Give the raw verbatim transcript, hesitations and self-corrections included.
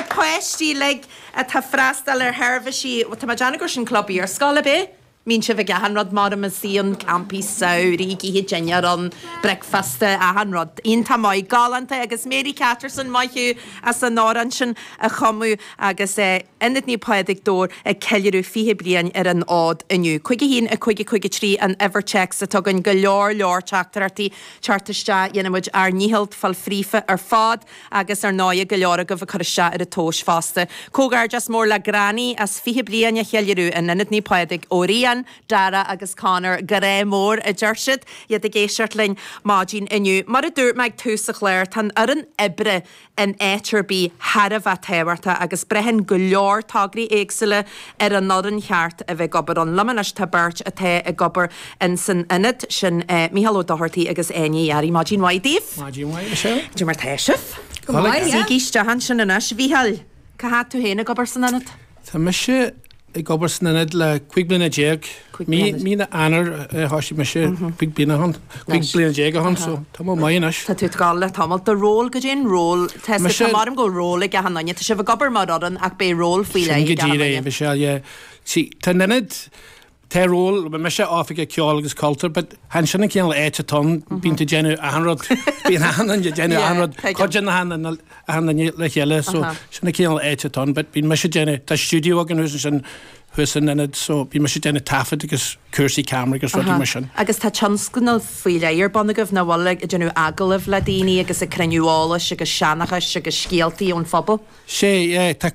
páistí uilig atá freastal ar sheirbhísí, tá mé ag déanamh gur sin club iarscoile ab é? Mbíonn sibh ag achan rud mar a sí an campaí samhraidh, oíche dinnéar an bricfeasta achan rud. Iontach maith galánta agus Mary Catterson maith thú as an amhrán sin a chumadh agus eh, Ionad Naomh Pádraig Dobhair ag ceiliúradh fiche bliain ar an fhód inniu. Cúig a haon a cúig a cúig a trí an uimhir téacs atá againn go leor leor teachtaireachtaí teacht isteach dhéanfaimid ár ndícheall fáil fríofa ar fad agus ar ndóigh go leor agaibh ag cur isteach ar an tomhas fosta. Comhghairdeas mór le Granny as fiche bliain a cheiliúradh in Ionad Naomh Pádraig ó Rian, Dara agus Connor grá mór a deir siad iad ag éisteacht linn maidin inniu. Mar a dúirt mé ag tús an chláir tá an fhoireann oibre in áit ar bith thar a bheith tábhachtach agus braitheann go leor tograí éagsúla ar an fhoireann cheart a bheith ag obair ann. Liom anois tá beirt atá ag obair in san ionad sin eh, Mícheál Ó Dochartaigh agus Áine Uí Fhearraigh Maidin mhaith daoibh. Maidin mhaith Michelle. Dé mar tá sibh? Go maith, yeah. Suígí isteach ansin anois Mhícheáil, cá fhad tú féin ag obair san ionad? Tá mise ag obair san ionad le cúig bliana déag. Cúig Mí bliana. mí na Eanáir thosaigh mise cúig bliana ann cúig bliana déag ann so tá mé maith anois. Tá tú ag gabháil le tamall do ról go dtí an ról Tá Mise- mar go ról ag achan duine, Tá sibh ag obair mar fhoireann ach beidh ról faoi Sin le go díreach Michelle, yeah. See, tá an ionad tá ról mise oifigeach ceoil agus cultúr, but han sin an cineál áit atá ann bíonn tú déanamh achan rud bíonn achan duine déanamh achan rud cuid achan achan duine le chéile so sin an cineál áit atá ann, but bíonn mise déanamh tá stiúideo againn thuas ansin thuas san ionad so bíonn mise déanamh taifead agus cúrsaí ceamara agus rudaí mar sin. Agus tá tionscnamh faoi leith ar bun agaibh nach bhfuil ag déanamh agallamh le daoine agus ag cruinniú eolais agus seanchais agus scéaltaí ón phobal. Sé yeah, tá